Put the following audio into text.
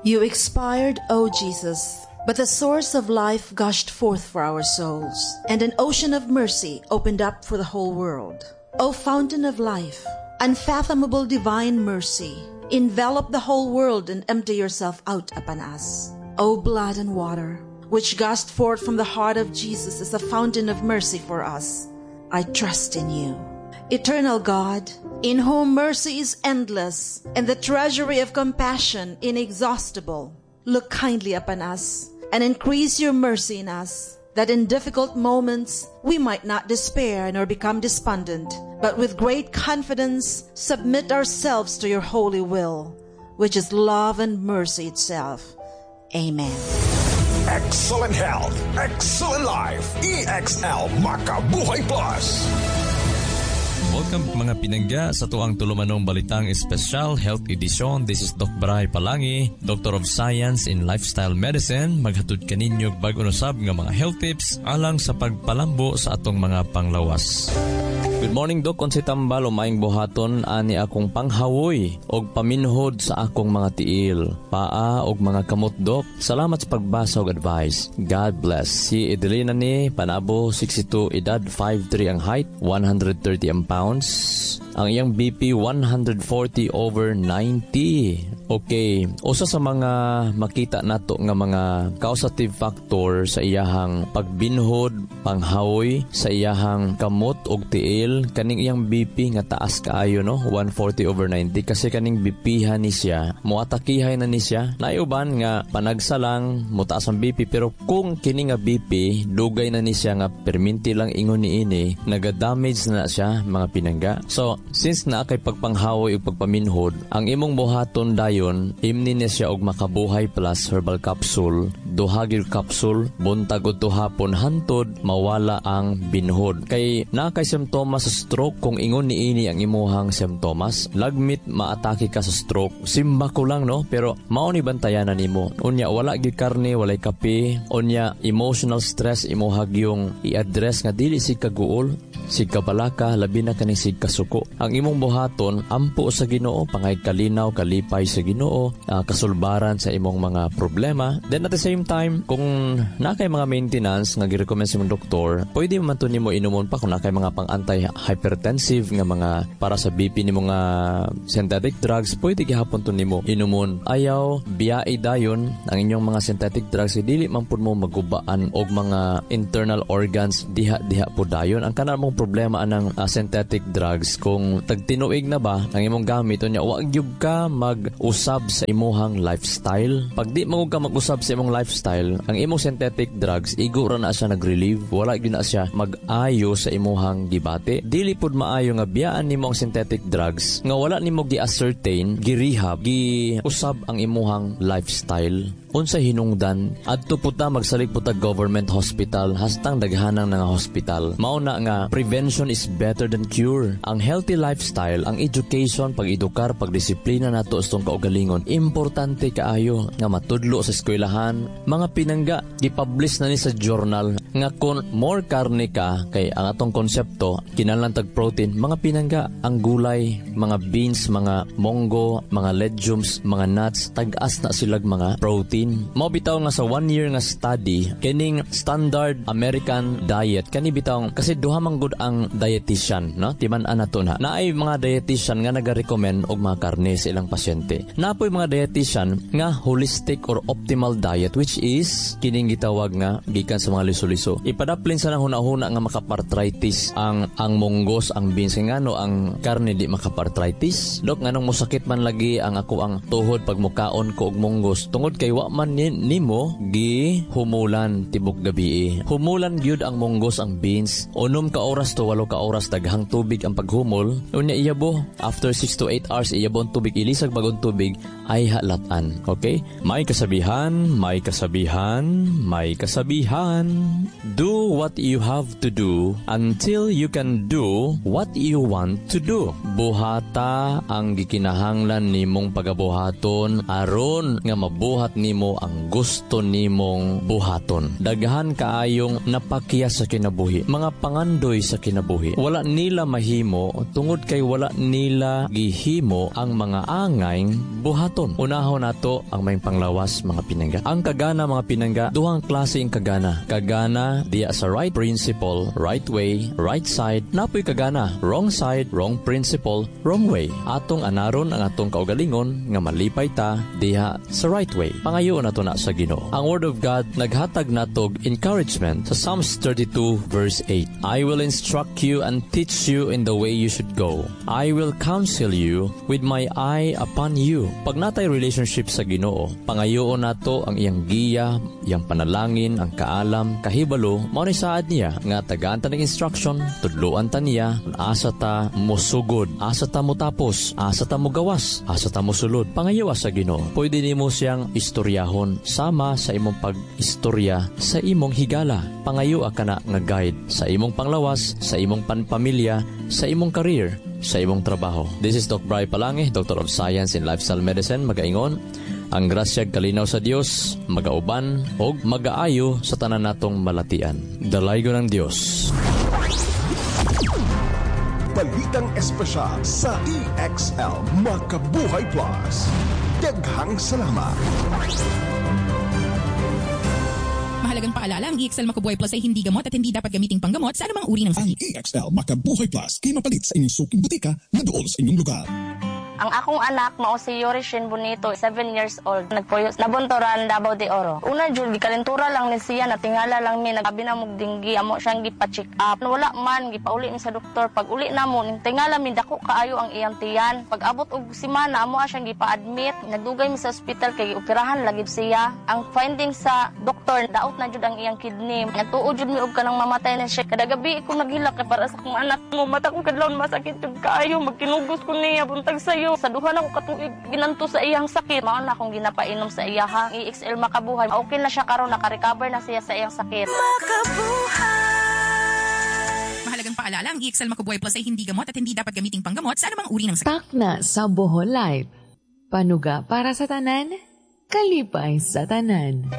You expired, O Jesus, but the source of life gushed forth for our souls, and an ocean of mercy opened up for the whole world. O fountain of life, unfathomable divine mercy, envelop the whole world and empty yourself out upon us. O blood and water, which gushed forth from the heart of Jesus as a fountain of mercy for us, I trust in you. Eternal God, in whom mercy is endless and the treasury of compassion inexhaustible, look kindly upon us and increase your mercy in us, that in difficult moments we might not despair nor become despondent, but with great confidence submit ourselves to your holy will, which is love and mercy itself. Amen. Excellent health, excellent life. EXL Makabuhay Plus. Welcome, mga pinangga, sa atuang tulumanong Balitang Espesyal Health Edition. This is Doc Bray Palangi, Doctor of Science in Lifestyle Medicine. Maghatod kaninyo bag-o usab nga mga health tips alang sa pagpalambo sa atong mga panglawas. Good morning, Doc. Unsay tambal o maayong buhaton ani akong panghawoy og paminhod sa akong mga tiil, paa og mga kamot, Doc? Salamat sa pagbasa og advice. God bless. Si Edelina ni Panabo, 62 edad, 5'3 ang height, 130 ang pounds. Ang iyang BP 140 over 90. Okay, usa sa mga makita nato nga mga causative factor sa iyahang pagbinhod, panghawoy sa iyahang kamot og tiil, kaning iyang BP nga taas kaayo, no, 140 over 90, kasi kaning BP ni siya, moatakihay na ni siya. Naay uban nga panagsa lang motaas ang BP, pero kung kini nga BP dugay na ni siya nga perminti lang ingon niini, naga-damage na siya, mga pinangga. So, since naa kay pagpanghawoy ug pagpaminhod, ang imong buhaton dayon, imni ni siya og Makabuhay Plus herbal capsule, duha gyud capsule buntag ug hapon hantod mawala ang binhod. Kay naa kay simptomas sa stroke, kung ingon niini ang imuhang simptomas, lagmit maatake ka sa stroke. Simba ko lang, no, pero mao ni bantayanan nimo. Unya wala gyud karne, walay kape, unya emotional stress imuha gyung i-address nga dili sig kaguol, sig kabalaka, labi na kaning sig kasuko. Ang imong buhaton, ampo sa Ginoo, pangay kalinaw, kalipay sa Ginoo, kasulbaran sa imong mga problema. Then at the same time, kung naa kay mga maintenance nga girecommend sa imong doktor, pwede man to nimo inumon pa kung naa kay mga pang anti-hypertensive nga mga para sa BP nimo nga synthetic drugs, pwede gihapon to nimo inumon. Ayaw biyai dayon ang inyong mga synthetic drugs, dili man pud mo magubaan og mga internal organs diha-diha po dayon. Ang kanang mong problema anang synthetic drugs, kung tagtinuig na ba ang imong gamit, unya wa gyud ka mag-usab sa imuhang lifestyle. Pag di mo ka mag-usab sa imong lifestyle, ang imong synthetic drugs igo ra na siya nag-relieve, wala gyud na siya mag-ayo sa imuhang gibati. Dili pud maayo nga biyaan nimo ang synthetic drugs nga wala nimo gi-ascertain, gi-rehab, gi-usab ang imuhang lifestyle. Unsa hinungdan adto pud ta, magsalig pud ta government hospital hastang daghanang nga hospital. Mao na nga prevention is better than cure. Ang healthy lifestyle, ang education, pag-edukar, pagdisiplina nato sa atong kaugalingon, importante kaayo nga matudlo sa eskwelahan. Mga pinangga, gipublish na ni sa journal nga kung more karne ka, kay ang atong konsepto kinahanglan tag protein, mga pinangga, ang gulay, mga beans, mga monggo, mga legumes, mga nuts, tag-as na silag mga protein. Mao bitaw nga sa one year nga study, kining standard American diet kani bitaw, kasi duha man gud ang dietitian, no, timan-an nato na naay mga dietitian nga naga-recommend og mga karne sa ilang pasyente. Naa poy mga dietitian nga holistic or optimal diet, which is kining gitawag nga gikan sa mga liso-liso. Ipadaplin sa nang huna-huna nga makaparthritis ang munggos, ang beans, kay ngano ang karne di makaparthritis, Dok? Nganong mosakit man lagi ang ako ang tuhod pag mukaon ko og munggos? Tungod kay wa man nimo gi humulan tibok gabi. Humulan gyud ang munggos, ang beans. 6 ka oras to 8 ka oras, daghang tubig ang paghumol. Unya iyabo after 6 to 8 hours, iyabo ang tubig, ilisag bagong tubig ay halatan. Okay? May kasabihan, may kasabihan, may kasabihan. Do what you have to do until you can do what you want to do. Buhata ang gikinahanglan nimong pagabuhaton aron nga mabuhat nimo ang gusto nimong buhaton. Daghan kaayong napakya sa kinabuhi. Mga pangandoy sa sa kinabuhi. Wala nila mahimo tungod kay wala nila gihimo ang mga angayng buhaton. Unahon nato ang may panglawas, mga pinangga. Ang kagana, mga pinangga, duhang klase ang kagana. Kagana diya sa right principle, right way, right side, napoy kagana, wrong side, wrong principle, wrong way. Atong anaron ang atong kaugalingon nga malipay ta diha sa right way. Pangayo nato na sa Ginoo. Ang Word of God naghatag natog encouragement sa Psalms 32 verse 8. "I will instruct you and teach you in the way you should go. I will counsel you with my eye upon you." Pag natay relationship sa Ginoo, pangayoon nato ang iyang giya, iyang panalangin, ang kaalam, kahibalo, mao ni saad niya nga tagaan ta ng instruction, tudloan ta niya, asa ta mosugod, asa ta motapos, asa ta mogawas, asa ta mosulod. Pangayoa sa Ginoo. Pwede nimo siyang istoryahon sama sa imong pag-istorya sa imong higala. Pangayoa kana nga guide sa imong panglawas, sa imong panpamilya, sa imong career, sa imong trabaho. This is Doc Bry Palangi, Doctor of Science in Lifestyle Medicine, magaingon, ang grasyag kalinaw sa Dios magauban og magaayo sa tanan natong malatian. Dalaygon ang Dios. Balitang espesyal sa EXL Makabuhay Plus. Daghang salamat. Mahalagang paalala, ang EXL Makabuhay Plus ay hindi gamot at hindi dapat gamiting panggamot sa anumang uri ng Ang sakit. EXL Makabuhay Plus kay mapalit sa inyong suking butika na dool sa inyong lugar. Ang akong anak mao si Yorishin Bonito, 7 years old. Nagpuyo Nabuntoran, Davao de Oro. Una jud, gikalentura lang ni siya, natingala lang mi, nagabi na mog dinggi, amo siyang gipa-check up. Wala man, gipauli mi sa doktor. Pag uli namo, ning tingala mi, dako kaayo ang iyang tiyan. Pag abot og semana, amo siyang gipa-admit. Nagdugay mi sa ospital kay gioperahan lagi siya. Ang finding sa doktor, daot na jud ang iyang kidney. Nagtuo jud mi og kanang mamatay na siya. Kada gabi ko naghilak kay para sa akong anak mo. Mata kong kadlawon masakit jud kaayo, magkinugos ko niya buntag sayo. Sa duha na ko katuig ginanto sa iyang sakit. Mao na akong ginapainom sa iya ha. EXL Makabuhay. Okay na siya karon, naka-recover na siya sa iyang sakit. Mahalagang paalala, ang EXL Makabuhay Plus ay hindi gamot at hindi dapat gamiting panggamot sa anumang uri ng sakit. Takna sa Bohol Live. Panuga para sa tanan, kalipay sa tanan.